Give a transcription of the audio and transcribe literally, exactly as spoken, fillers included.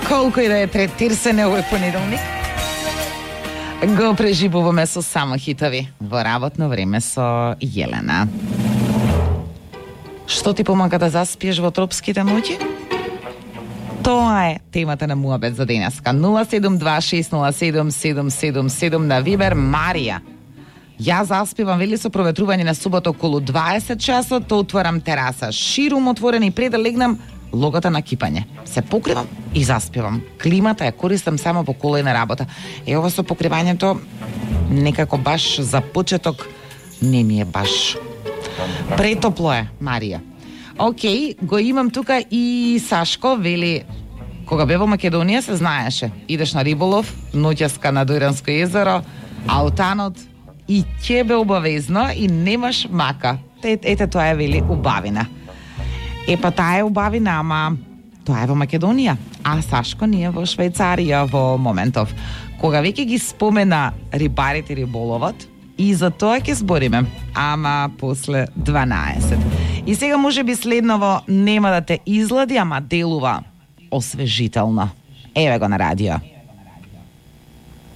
Колку и да е третирсене овој понеделник, го преживуваме со само хитови во работно време со Јелена. Што ти помага да заспиеш во тропските ноќи? Тоа е темата на муабет за денеска. нула седум два шест нула седум седум седум седум на Вибер. Марија: ја заспивам, вели, со проветрување на субота околу дваесет часот, отворам тераса, ширум отворена и пред да легнам логата на кипање. Се покривам и заспивам. Климата ја користам само по кола и на работа. Е, ова со покривањето некако баш за почеток не ми е баш. Претопло е, Марија. Океј, го имам тука и Сашко, вели, кога бе во Македонија се знаеше. Идеш на риболов, ноќеска на Дојранско езеро, аутанот и ќе бе обавезно и немаш мака. Ете, ете тоа е, вели, убавина. Е, па таа е убавина, ама тоа е во Македонија, а Сашко ние во Швајцарија во моментов. Кога веќе ги спомена рибарите риболовот, и за тоа ќе збориме, ама после дванаесет. И сега може би следново нема да те излади, ама делува освежително. Еве го на радио.